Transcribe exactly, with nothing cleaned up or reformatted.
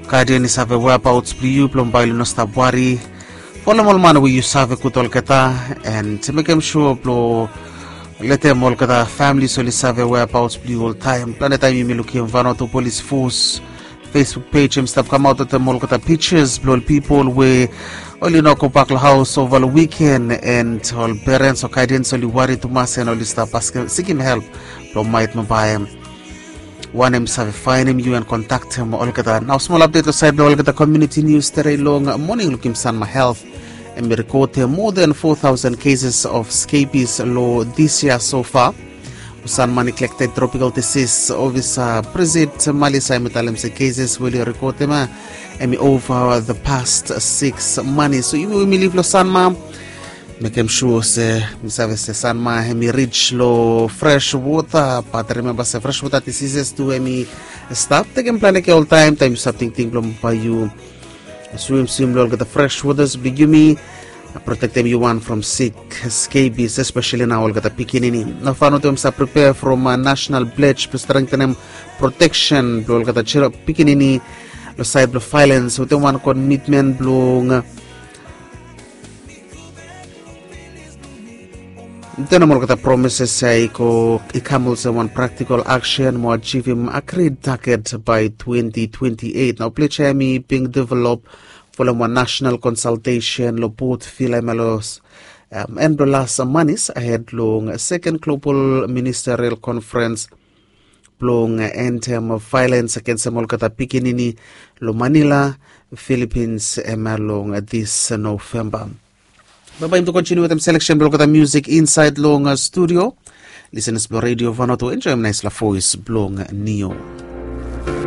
Gaiden i save whereabouts blong yu blong bae oli no stap wari. Folem ol man we yu save gud olgeta, and mekem sure blong letem olgeta families oli save whereabouts blong yu oltaem. Plante taem yumi lukim Vanuatu Police Force Facebook page em stap kamaot wetem olgeta pictures blong ol pipol we oli no gobak long haos ova long wiken, and ol perens o gaidens oli wari tumas and oli stap askem, sikim help blong maet mo baem wanem i save faenem yu and kontaktem olgeta. Nao smol apdet long saed blong olgeta community news. Tere long moning lukim Sanma Health em i rekotem more than four thousand cases of scabies long this year so far. Sanma ni Neglected Tropical Disease Officer Brizit Malisa em i talem se cases we oli rekotem ya em i over the past six months. So yumi we yumi liv long Sanma, mekem sure se mi save se Sanma em i rich long fresh water, bat rimemba se fresh water diseases tu em i stap tekem plante kea oltaem taem yu stap tingting blong bae yu swim swim long olgeta fresh waters blong yumi protektem yu wan from sik, scabies, especially nao olgeta pikinini. Nao Vanuatu em i stap prepare from national pledge blong strengthenem protection blong olgeta pikinini long saed blong violence wetem wan commitment blong tenem olgeta promises ya i go i kam olsem wan practical action mo ajivim agreed target by twenty twenty-eight. Nao pledge ya em i being develop folem wan national consultation long both villa em ya long en blong las manis ahed long second global ministerial conference blong entem violence agensem olgeta pikinini long Manila, Philippines em ya long this November. Bambae yumi tu kontiniu wetem selection blong olgeta music insaed long studio. Lisenas blong Radio Vanuatu, enjoem naesfala voes blong Nio.